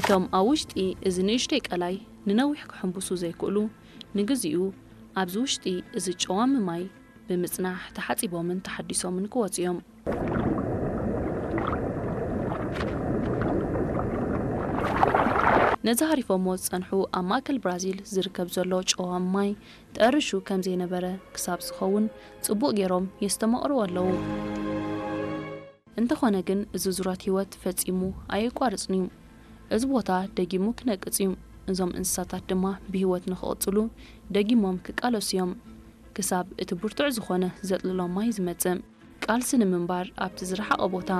እቶም ኣብ ውሽጢ እዚ ንእሽተይ ቀላይ ንነዊሕ ክሕንብሱ ዘይክእሉ፣ ንግዚኡ ኣብዚ ውሽጢ እዚ ጨዋሚ ማይ ብምጽናሕ ተሓጺቦምን ተሓዲሶምን ክወጹ እዮም። ነዚ ሃሪፎሞ ዝጸንሑ ኣብ ማእከል ብራዚል ዝርከብ ዘሎ ጨዋሚ ማይ ጠርሹ ከም ዘይነበረ ክሳብ ዝኸውን ጽቡቕ ገይሮም የስተማቕርዎ ኣለዉ። እንተኾነ ግን እዚ ዙረት ህይወት ፈጺሙ ኣየቋርጽን እዩ። እዚ ቦታ ደጊሙ ክነቅጽ እዩ። እዞም እንስሳታት ድማ ብህይወት ንኽቕጽሉ ደጊሞም ክቃለሱ እዮም። ክሳብ እቲ ብርቱዕ ዝኾነ ዘጥልሎም ማይ ዝመጽእ። ቃልሲ ንምንባር ኣብቲ ዝረሓቐ ቦታ።